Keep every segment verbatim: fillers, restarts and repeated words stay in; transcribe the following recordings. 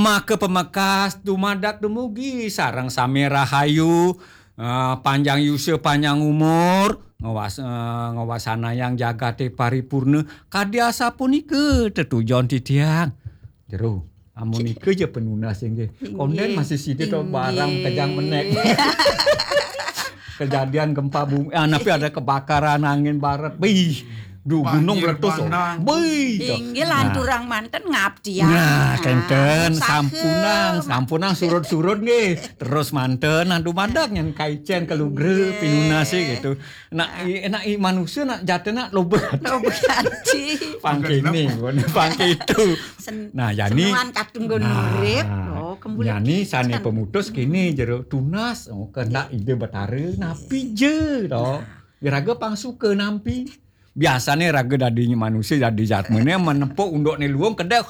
Maka pamekas dumadak dumugi sareng sami rahayu, eh, panjang yusa, panjang umur, ngawas-, eh, ngawasanayang jagaté paripurna. Kadi asapunika tetujon titiang. Jero, amunika ja penunas inggih. Kondén masih sida to barang kejang menék. Kejadian gempa bumi, ah, napi ada kebakaran, angin barat. Bih, duh, gunung meletus. Bih, to. Inggih, lanturang manten ngabdian. Nah, kénten, sampunang, sampunang surut-surut nggih. Terus manten, nah, dumadak nyen kaicén kalugra pinunasé gitu. Nak i, nak i manusia nak jatena loba. Loba ati. Pangkini, pangkitu. Nah, jani senuan kadung nggon urip. Oh, kembuli jani sané pemutus kini jero tunas, oh, kehendak Ida Betara napi ja to. Iraga pang suka nampi. Biasané raga dadi manusia, dadi jatmané menepuk unduk né luung kedék.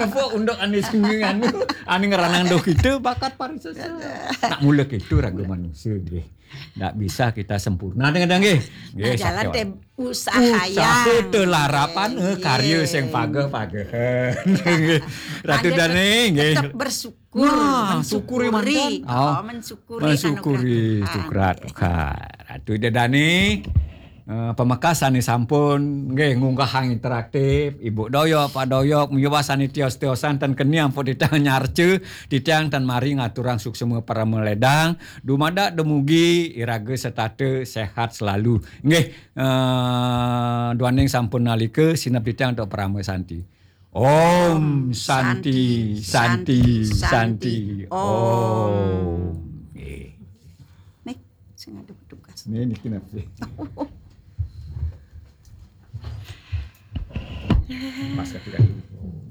Nepuk unduk ané sing anu, ané ngranang duh kita bakat parisesa. Nak mula kitu raga manusia nggih. Ndak bisa kita sempurna dengan nggih. Nggih, nah, jalan sakian. Teh usaha. Usaha yang telarapan, eh, karya sing pageh-pageh. Nggih. Ratu Dané nggih. Tetap bersyukur. Nah, syukuri manten. Oh, mensyukuri, mensyukuri anugerah Tuhan. Syukur Tuhan. Ratu Ida Dané, eh, pamekas sané sampun nggih ngunggahang interaktif, Ibu Doyok, Pak Doyok, miwah sané tios-tiosan ten keni ampun titiang nyarca, titiang ten mari ngaturang suksma parama ledang, dumadak dumugi iraga setata sehat selalu. Nggih, eh, duaning sampun nalika sineb titiang antuk parama santi. Om Santi, Santi, Santi, Santi, Om. Om. Nggih. Nih, sing ada petugas. Nih, niki napi? Mas kaki-kaki.